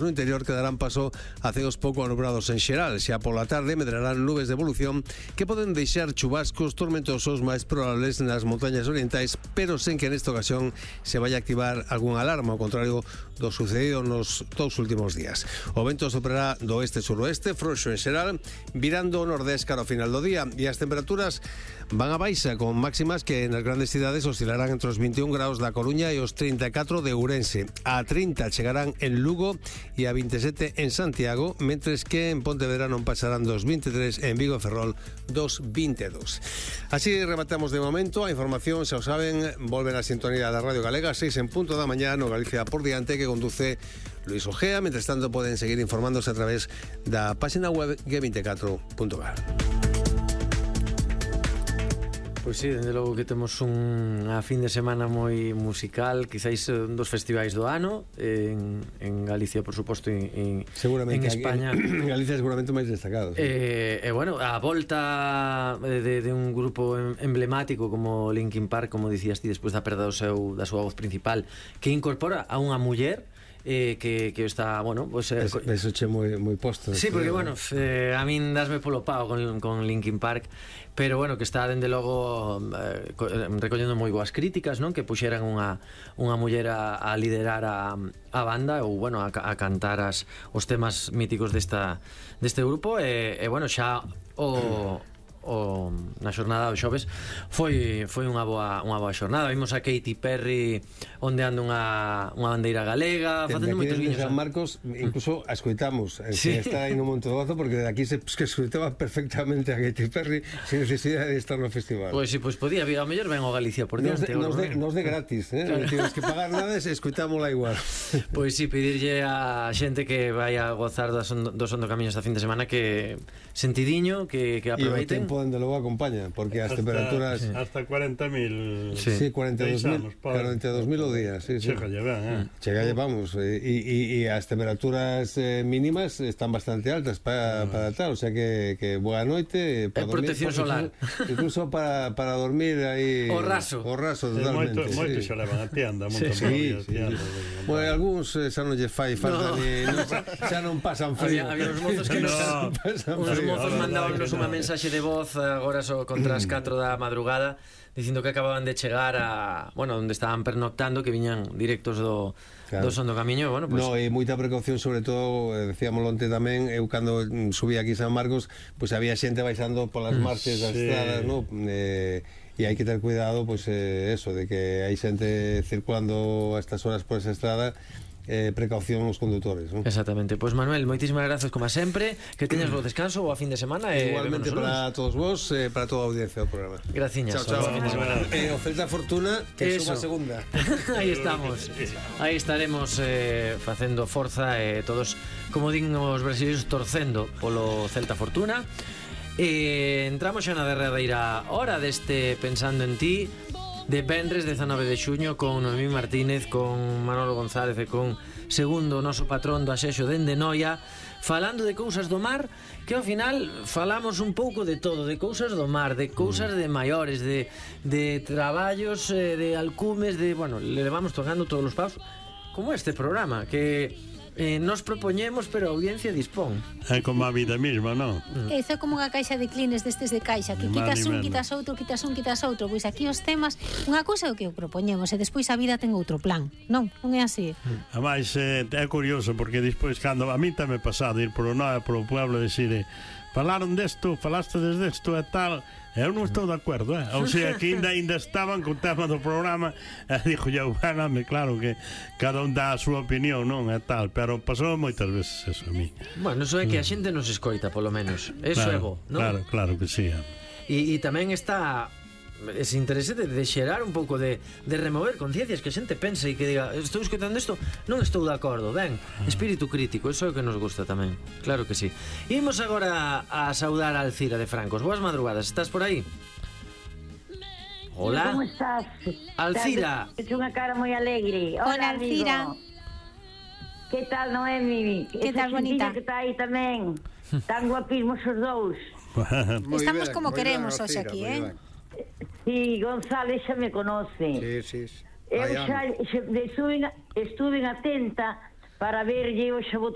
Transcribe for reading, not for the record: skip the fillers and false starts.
No interior quedarán paso a ceos pouco anubrados en xeral. Xa pola tarde medrarán nubes de evolución que poden deixar chubascos tormentosos máis probables nas montañas orientais, pero sen que nesta ocasión se vaya a activar algunha alarma, ao contrario do sucedido nos 2 últimos días. O vento soprará do oeste-suroeste, frouxo en xeral, virando o nordés cara ao final do día, e as temperaturas van a baixa, con máximas que nas grandes cidades oscilarán entre os 21 graus da Coruña e os 34 de Ourense. A 30 chegarán en Lugo e a 27 en Santiago, mentres que en Pontevedra non pasarán dos 23 en Vigo e Ferrol dos 22. Así rematamos de momento. A información, xa o saben, volven a sintonía da Radio Galega 6 en punto da mañá no Galicia por diante, que conduce Luis Ojea. Mentres tanto poden seguir informándose a través da página web g24.gal. Pois sí, dende logo que temos unha fin de semana moi musical, quizáis un dos festivais do ano en Galicia, por suposto, en España. En Galicia seguramente máis destacado. Sí. Bueno, a volta de un grupo emblemático como Linkin Park, como dicías ti, despois da perda da súa voz principal, que incorpora a unha muller que está, bueno, pues eso che moi posto. Sí, porque bueno, a min dasme polo pao con Linkin Park, pero bueno, que está dende logo recollendo moi boas críticas, non? Que puxeran unha muller a liderar a banda, ou bueno, a cantar os temas míticos deste grupo, e bueno, xa na xornada do xoves foi unha boa xornada. Vimos a Katy Perry ondeando unha bandeira galega, facendo moitos guiños. San Marcos, incluso a escoitamos sin estar aí no Monte do Gozo, porque de aquí se escoitaba perfectamente a Katy Perry sin necesidade de estar no festival. Pois si, pois podía, ao mellor ven o Galicia por diante. Nos de gratis, non tienes que pagar nada, se escoitámola igual. Pois si, pedirlle a xente que vai a gozar dos Ondo Camiños esta fin de semana que sentidiño, que aproveiten. Dende logo acompaña, porque as temperaturas hasta 40.000. Sí, 42.000 o día, sí. Chegalle ben, Chegalle, vamos, e as temperaturas mínimas están bastante altas para tal, o sea que boa noite para dormir, protección solar. Incluso para dormir aí o raso totalmente. Moito xa levan a tienda, Bueno, algúns xa non lle fai falta xa non pasan frío. Había uns mozos que uns mozos mandábanos unha mensaxe de voz agora só contra as 4 da madrugada dicindo que acababan de chegar a, bueno, onde estaban pernoctando, que viñan directos do Ondo Camiño, bueno, pues... No, e moita precaución, sobre todo, decíamoslo onte tamén, eu cando subí aquí San Marcos, pois había xente baixando polas marches das estradas, no? E hai que ter cuidado, pois eso, de que hai xente circulando a estas horas por esa estrada. Precaución aos condutores, non? Exactamente. Pois Manuel, moitísimas grazas como sempre, que teñas bo descanso, boa fin de semana e igualmente para todos vos, para toda a audiencia do programa. Graciñas. Chao. Fin de semana. O Celta Fortuna que suma a segunda. Aí estamos. Aí estaremos facendo forza e todos, como din os brasileiros, torcendo polo Celta Fortuna. Entramos xa na derradeira hora deste Pensando en Ti, de venres 19 de xuño, con Noemí Martínez, con Manolo González e con Segundo, o noso patrón do Asexo dende Noia, falando de cousas do mar, que ao final falamos un pouco de todo, de cousas do mar, de cousas de maiores, de traballos, de alcumes, de, bueno, le vamos tocando todos os paus, como este programa, que nos propoñemos, pero a audiencia dispón. É como a vida mesma, non? Isso é como unha caixa de clines destes de caixa, que quitas un, quitas outro. Pois aquí os temas, unha cousa é o que o propoñemos e despois a vida ten outro plan. Non é así. Ademais, é curioso, porque despois, cando a mí tamén pasado ir polo pueblo e dicir falaron desto, falaste desto e tal, eu non estou de acordo, ou sea, que ainda estaban co tema do programa, dixo eu, claro que cada un dá a súa opinión, non, e tal, pero pasou moitas veces eso a mí. Bueno, eso é que a xente nos escoita, polo menos, eso é bo, non? Claro que sí. E tamén está ese interese de xerar un pouco de remover conciencias, que a xente pense e que diga, estou escoitando isto, non estou de acordo, ben, espírito crítico, eso é o que nos gusta tamén, claro que sí. Imos agora a saudar a Alcira de Francos. Boas madrugadas, estás por aí? Hola. Como estás? Alcira. É unha cara moi alegre. Hola, Alcira. Que tal, Noemi? Que tal, bonita? Que está aí tamén. Tan guapísimos os dous. Estamos como queremos hoxe aquí, Sí, González xa me conoce. Sí. Eu xa estuve atenta para verlle o xaboto